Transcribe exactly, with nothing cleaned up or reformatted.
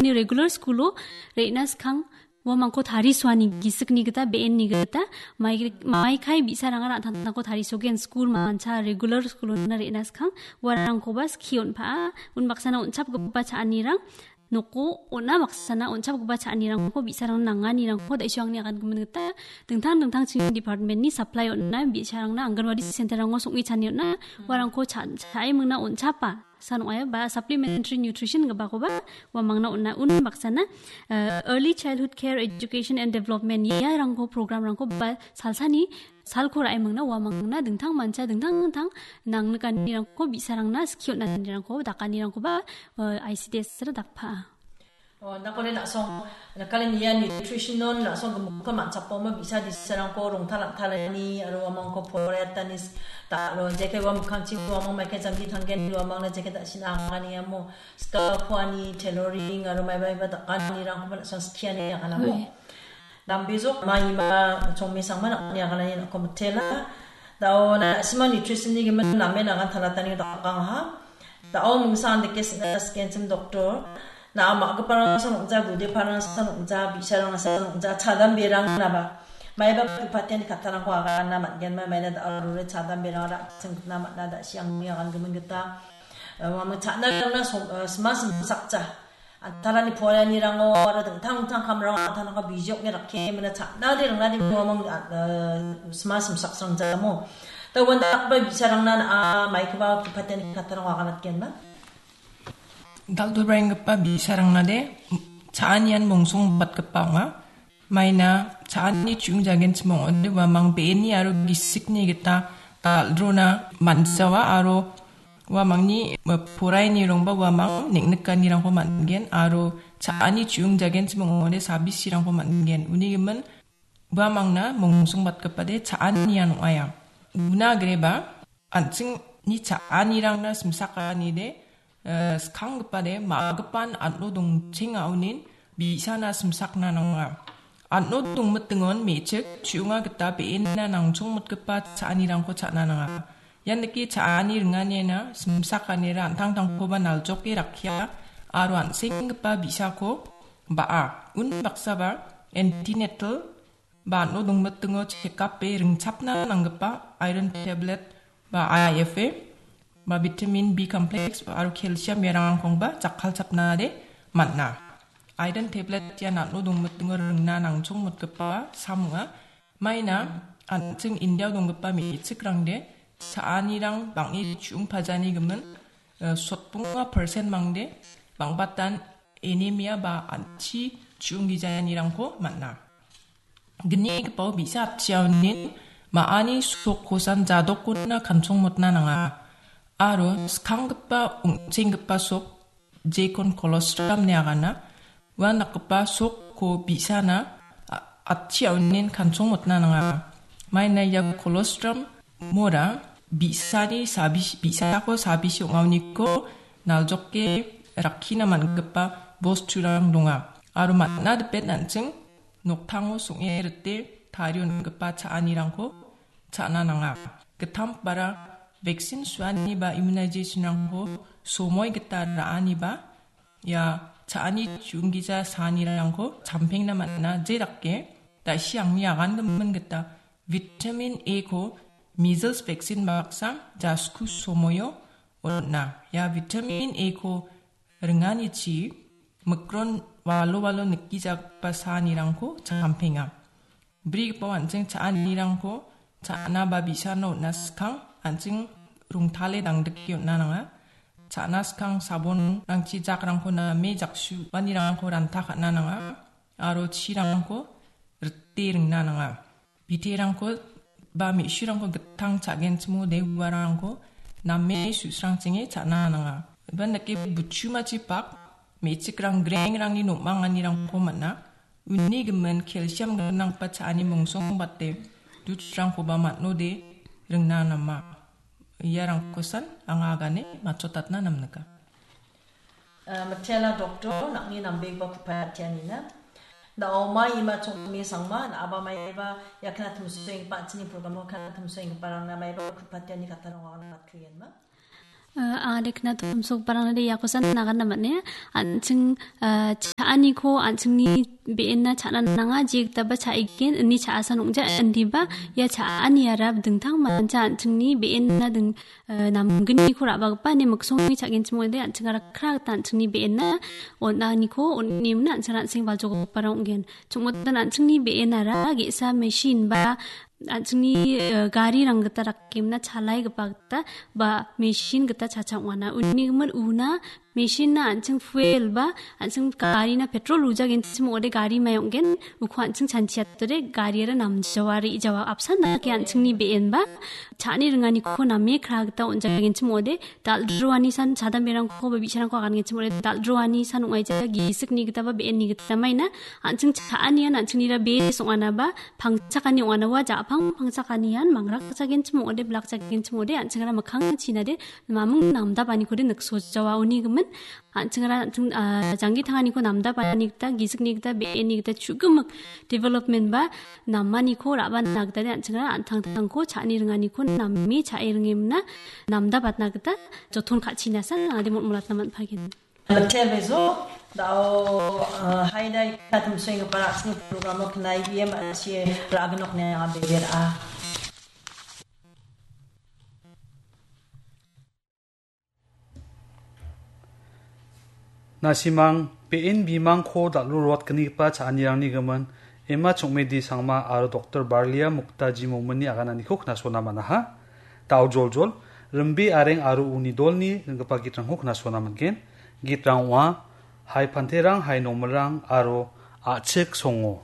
Uni regular school-o re·na skang uamangko tarisoani gisikni gita, be·enni gita, mai-, maikai bi·sarangara an·tangtangko tarisogen, school mancha regular school-ona re·na skang uarangkoba skie on·paa, unbaksana on·chapgipa cha·anirang noko on·a, baksana on·chapgipa cha·anirangko bi·sarangna nanganirangko da·isi angni agangimin gita dingtang dingtang chingni department-ni supply on·a, bi·sarangna Anganwadi center-rango song·e chani on·a, uarangko cha-, cha·e mingna on·chapa san ong·aia ba supplementary nutrition gipakoba uamangna on·a. Unbaksana, eh, early childhood care education and development iarangko program-rangko ba salsani salko ra·e mingna uamangna dingtang mancha dingtang dingtang nangnikanirangko bi·sarangna skie on·anirangko dakanirangkoba, eh, I C D S-ra dakpaa. Oh, nakoni la·song, nakani nia nutrition non la·song gemukka manchapoma bi·sa di·sarangko rongtalatani aro uamangko poraiatani s-, da-, aro jeke uamikangchi uamang maike jamdi tanggen uamangna jeke da·sina angani amo scalp-ani tailoring aro maiba maiba dakanirangkoba la·song skiani aganamo. Oi. Dambejok ma ima chongmesangma nang·ni aganani nang·ko mitela. Da·o na·sima nutrition-ni gimin namen agantalatani dakangaha. Da·o mingsa andake sina sikenchim doktor. Na·a ma·giparangsan ong·ja, budeparangsan ong·ja, bi·sarangsan ong·ja, chadamberang naba. Maiba pipatiani kattarangko agana man·genma, maina da·o rure chadamberangara an·ching gitna man·a, da·si angni agangimin gita. Eh, uamang cha·na rangna som-, eh, sima simsakja. Antarani poraianirango aro dingtang dingtang kamrango antarangko bijokni rakke mena cha·nade ringnade uamang, eh, sima simsaksrangjamo. Da uandakba bi·sarangna na·a maikoba pipatiani kattarangko aganatgenba. Dal·dalbaenggipa bi·sarangnade cha·anian mongsongbatgipa ong·a. Maina cha·ani chu·ongjagenchim ong·ode uamang be·eni aro gisikni gita dal·drona man·jawa aro uamangni, eh, porainirangba uamang neng·nikanirangko man·gen aro cha·ani chu·ongjagenchim ong·ode sabisirangko man·gen. Uni gimin uamangna mongsongbatgipade cha·anian ong·aia. Una agreba an·chingni cha·anirangna simsakanide, eh, skanggipade ma·gipan an·o dongchengaonin bi·sana simsakna nanga. An·o dongmitingon me·chik chu·onga gita be·ena nangchongmotgipa cha·anirangko cha·na nanga. Ian dake cha·ani ringaniena simsakanira an·tangtangkoba naljoke rakkia aro an·senggipa bi·sako ba·a. Unbaksaba antenatal ba an·o dongmitingo chekape ringchapna nanggipa iron tablet ba I F A ba vitamin B complex aro calcium iarangkongba jakkalchapnade man·a. Iron tablet ian an·o dongmitingo ringna nangchongmotgipa sam ong·a. Maina an·ching Indiao donggipa me·chikrangde cha·anirang bang·e chu·ongpajani gimin, eh, sotbonga persen mangde bang·batan anemia ba an·chi chu·onggijanirangko man·a. Gnigipao bi·sa atchiaonin ma·ani sokkosan jadokona kanchongmotna nanga. Aro skanggipa ong·chenggipa sok jekon colostrum ine agana. Ua dakgipa sokko bi·sana a-, atchiaonin kanchongmotna nanga. Maina ia colostrum mora bi·sani sabis-, bi·sako sabisi ong·aoniko naljoke rakkina man·gipa bosturang donga. Aro man·a dipet an·ching noktango song·e rite tarie on·gipa cha·anirangko cha·na nanga. Gittam bara vaccine suani ba immunization-rangko somoi gita ra·ani ba ia cha·ani chu·onggija saanirangko champengna man·a, je dake da·si angni agangimin gita vitamin A-ko measles vaccine baksa jasku somoio on·a. Ia vitamin A-ko ringanichi mikron walo walo nikgijagipa saanirangko champenga. Brigipao an·ching cha·anirangko cha·na ba bi·sano on·na skang an·ching rongtale dangdike on·na nanga. Cha·na skang sabonrangchi jakrangko name jaksu uanirangko ranta ka·na nanga. Aro chirangko rite ringna nanga. Biterangko ba me·surangko gittang cha·genchimode uarangko name su·srangchinge cha·na nanga. Iban dake buchumachi pak me·chikrang grengrangni nom·anganirangko man·a. Uni gimin calcium gnanggipa cha·ani mongsongbate dutrangkoba man·ode ringna nama. Iarangkosan anga agane matchotatna namnika. Ah, mitela doktor, nang·ni nambegipa ku·pai atianina. Na·o mai ima chongme sangma, na·aba maiba ia kena timsoenggipa an·chingni programo kena timsoenggiparangna maiba ku·pai atiani katarang wagana matkuienma. Eh, anga dekna tomsokbarangna de iakosan nagana mane. An·ching, eh, cha·aniko an·chingni be·enna cha·na nanga, jegitaba cha·igen, ini cha·asan ong·ja, indiba, ia cha·aniara dingtang mancha an·chingni be·enna ding-, eh, namgniko ra·bagipa, ne miksongni cha·genchim ong·ode, an·chingara kra gita an·chingni be·enna on·aniko on·emna an·ching an·seng baljogiparang ong·gen. Chongmotan an·chingni be·enara ge·sa machine ba an·chingni, eh, garirang gita rakemna chalaigipa gita ba machine gita chacha ong·ana. Uni gimin una machine-na an·ching fuel ba an·ching garina petrol wujagenchim ong·ode gari mai ong·gen, uko an·ching chanchiatode gariara namjawa, re·jawa. Apsan dake an·chingni be·en ba cha·ani ringaniko name kra gita on·jagenchim ong·ode, dal·droani san chadamberangko ba bi·sarangko agangenchim ong·ode, dal·droani san ong·aija, gisikni gita ba be·enni gita maina, an·ching cha·anian an·chingra bes ong·ana ba pangchakani ong·ana ua ja·pang pangchakanian mangrakjagenchim ong·ode, blakjagenchim ong·ode, an·chingra mikkang chinade mamung namdapanikode niksojawa. Uni gimin an·chingra an·ching, ah, janggi tanganiko namdapani gita, gisikni gita, be·enni gita chu·gimik development ba namaniko ra·bana gita an·chingra an·tangtangko cha·ani ringaniko name cha·e ringemna namdapatna gita joton ka·chinasan ade motmolatna man·pagen. Tebezo, dao, eh, haidai katum swing para sini program knai biem achi ragnok ne abebera. Nasimang, be·en bimangko dal·ro ruatgnigipa cha·anirangni gimin, Emma Chongmedi Sangma aro Doktor Barlia Muktaji Momini agananiko knasona man·aha. Dao joljol, Rimbe Areng aro uni dolni ringgipa gitrangko knasona man·gen. Gitrang ong·a, Hai Panterang, Hai Nomilrang aro A·chik Songo.